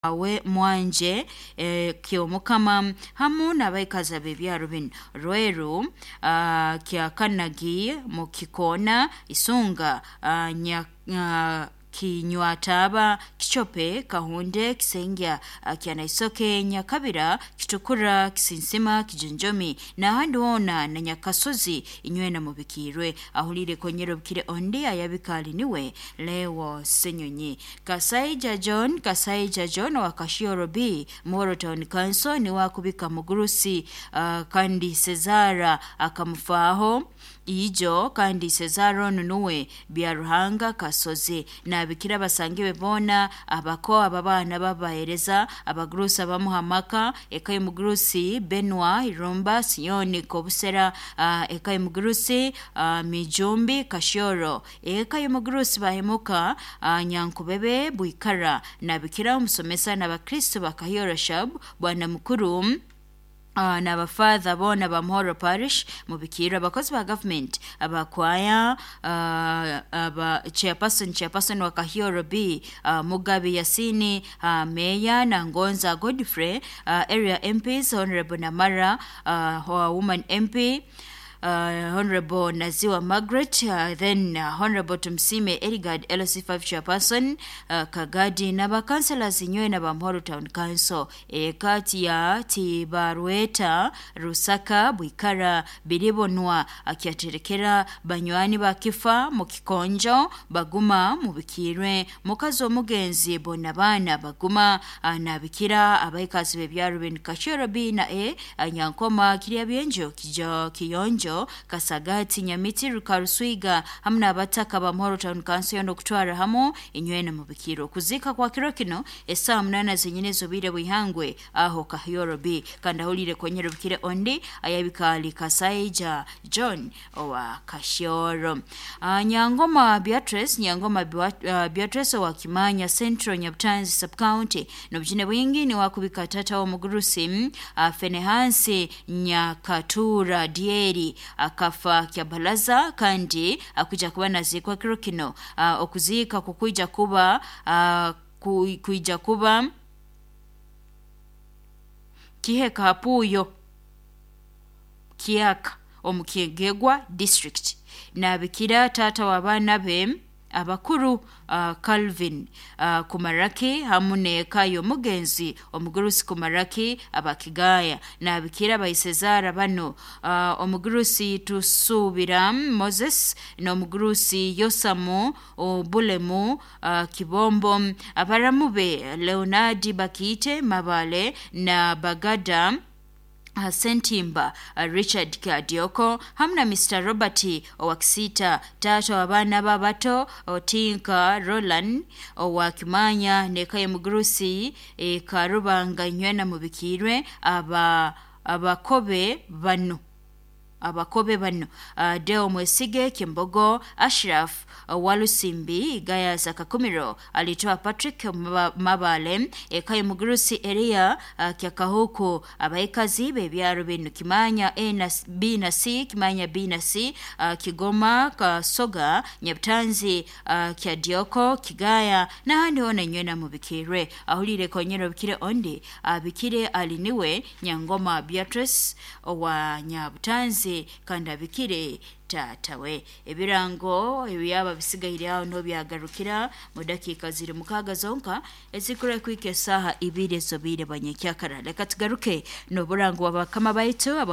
Awe Mwanje Kyomukama hamu n'abaikazi ab'ebyaro binu: Rweru, Kyakanagi, Mukikoona, Isunga, Kinywataaba, Kichope, Kahunde, Kisengya, Kyanaisoke, Nyakabira, Kitukura, Kisinsima, Kijunjumi n'ahandi hoona na Nyakasozi, inywena mubikiirwe. Ahuliire konyera obukire ondi ayabika ali niwe Leo Ssenyonyi. Kasaija John, Kasaija John owa Kashioro B, Muhoro Town Council niwe akubika mugurusi kandi Sezara akamufaaho ijo, kandi Sezara onu nuwe Byaruhanga Kasozi. Naabikira abasangi be boona, abako, ababaana babaheereza, abagurusi abamuha amaka, eka y'omugurusi Benwa Irumba Sioni Kobusera, eka y'omugurusi Mijumbi Kashyoro, eka y'omugurusi Bahemuka Nyankubebe Bwikara. Naabikira omusomesa n'abakristo ba Kahyoro Shab Bwana Mukuru n'abafaatha boona ba Muhoro Parish mubikiirwe, abakozi ba gavumenti, abakwaya, aba chairperson, chairperson wa Kahyoro B, Mugabe Yasini, Meya Nangonza Godfrey, area MPs, Honorable Namara, woman MP, Honorable Naziwa Margaret, then Honorable Tumsime Erigard, LC5 chairperson, Kagadi n'abakanselas inywena ba Muhoro Town Council, ekati ya Tibarweta Rusaka Bwikara Biribonwa akyaterekera banywani ba Kifa mu Kikonjo baguma mubikirwe, mukazi omugenzi bona baana baguma. Nabikira abaikazi b'ebyaro binu: Kashyoro B na E, Nyankoma, Kiryabyenjo, Kijo, Kiyonjo, Kasagati, Nyamiti, Rukaruswiga hamu n'abataka ba Muhoro Town Council yoona okutwara hamu, inywena mubikirwe. Okuziika kwa kiro kino esaaha 8 zenyini ez'obwire bw'ihangwe aho Kahyoro B. Kandi ahuliire konyera obukire ondi ayabika ali Kasaija John owa Kashyoro. Nyangoma Beatrice, Nyangoma Beatrice owa Kimanya Central, Nyabutanzi Sub-County, n'obujune bwingi niwe akubika tata w'omugurusi Fenehansi Nyakatura Dieri akafa Kyabalaza, kandi akuija kuba naziikwa kiro kino. Okuziika kukwija kuba kwija kuba Kiheka Hapuuyo Kyaka omu Kyegegwa District. Naabikira taata w'abaana be abakuru Calvin Kumaraki hamu n'eka y'omugenzi omugurusi Kumaraki Abakigaya. Naabikira baisezaara banu: omugurusi Tusuubira Moses n'omugurusi Yosamu Bulemu Kibombo, abaramu be Leonard Bakiite Mabale na Bagada Sentimba, Richard Kadioko hamu na Mr Robert owa Kisiita, taata w'abaana be abato Otinka Roland owa Kimanya n'eka y'omugurusi Karubanga, inywena mubikiirwe. Aba abakobe banu, abakobe banu: Deo Mwesige Kimbogo, Ashraf Walusimbi Gayas Kakumiro, alitoa Patrick Mabale, eka y'omugurusi Eria Kyakahuku, abaikazi b'ebyaro binu: Kimanya A na B na C, Kimanya B na C, Kigoma, Kasoga, Nyabutanzi, Kyadioko, Kigaya n'ahandi hoona, inywena mubikiirwe. Ahuliire konyera obukire ondi abikire ali niwe Nyangoma Beatrice owa Nyabutanzi, kandi abikire taata we. Ebirango ebyaba bisigaire aho niho byagarukira mu dakiika ziri 6 zonka ezikura kwika esaaha 2 ez'obwire bwa nyekyakara. Leka tugaruke n'oburango bwa bakama baitu aba.